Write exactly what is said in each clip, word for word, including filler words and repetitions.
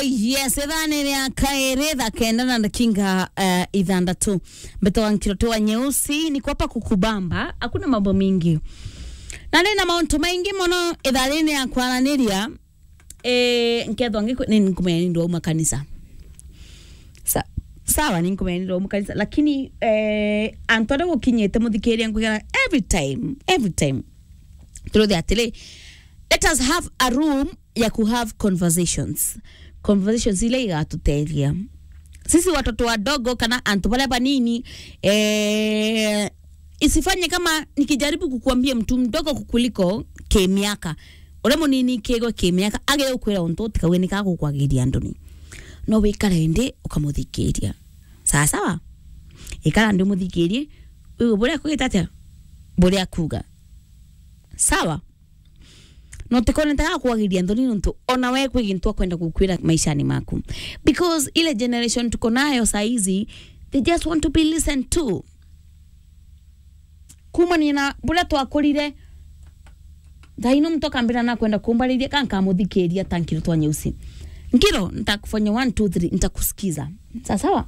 Yes, ithani ria kairi thaa kenda na ndakinga, eh, ithandatu. Mbetwa Nkiroti wa Nyeusi, niko hapa kukubamba, hakuna mambo mingi. Na nina mauntu maingi mono itharine ya kwaraniria, eh, nkethwa ngiku-, ni nkumenya ni ndwauma kanisa. Sa-, sawa, ni nkumenya ni ndwauma kanisa, lakini, eh, antu aria gukinyite muthikiria nkwigana every time, every time. Turuthi atiri, let us have a room ya ku have conversations. Conversations ile igatuteithia. Sisi watoto wadogo kana antu baria banini, eh, isifanye kama nikijaribu kukuambia mtu mdogo kukuliko kimiaka. Uria munini kigo kimiaka, agire gukwira untu utikauge ni kagukwagiria nduni. No wikare ndi ukamuthikiria. Sawa sawa? Ikara ndi umuthikirie, uigue buria akugita atia? Buria akuga. Sawa? Na utikone ta gakwagiria nthoni nontu ona we kwi gintu akwenda gukwira maishani maku. Because ile generation tuko nayo saa hizi, they just want to be listened to. Kumania na buria twakurire, thaa ino muntu akambira nakwenda kumbariria, ka nkamuthikiria ta Nkiroti wa Nyeusi. Nkiro, nitakufanya one, two, three, nitakusikiza. Sawa sawa?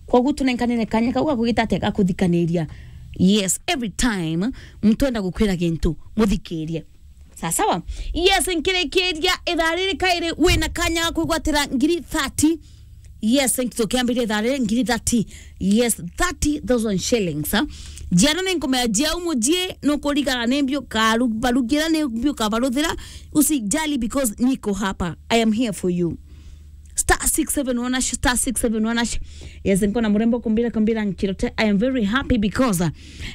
Koguo tunenkanire kanya kau gakugita atia gakuthikaniria. Yes, every time muntu enda gukwira gintu, muthikirie. Sawa sawa? Yes, nkirikiria ithaa riri kairi wina kanya ga kwigwatira ngiri thirty. Yes, tukiambiria ithaa riri ngiri thirty. Yes, thirty thousand shillings, ha? Jiana ni nkumenya jia umujie, nukurigana ni mbio karu-, barugira ni mbio kabaruthira. Usijali because niko hapa. I am here for you. Star six seven one hash, star six seven one hash. Yes, nkona murembo kumbira, kumbira Nkirote. I am very happy because, uh,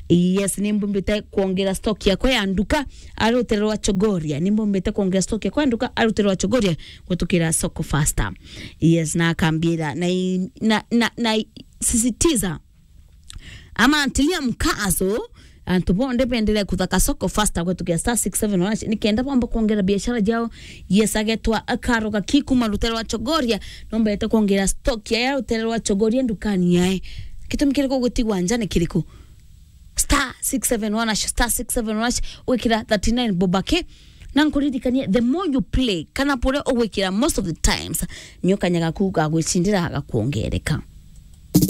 yes, nimbumbite kuongera stock yakwa ya nduka ari rutere rwa Chogoria. Nimbumbite kuongera stock yakwa ya nduka ari rutere rwa Chogoria gutukira soko faster. Yes, na akambira na i-, na, na, na i-, sisitiza ama ntilia mkazo, antu bonthe bendere kuthaka soko faster kwetukia star six seven one hash, nikenda bomba kuongera biashara jao. Yes, agetwa Karo Gaki kuma rutere rwa Chogoria, nombete kuongera stock ya rutere rwa Chogoria ndukani yae. Gitumi kiriku gutigwa nja ni kiriku? Star six seven one hash, star six seven one hash, wikira thirty-nine bob aki. Na nkuririkanie, the more you play, kana buria ugwikira most of the times, nio kanya gaku ga gwicindira gakuongereka.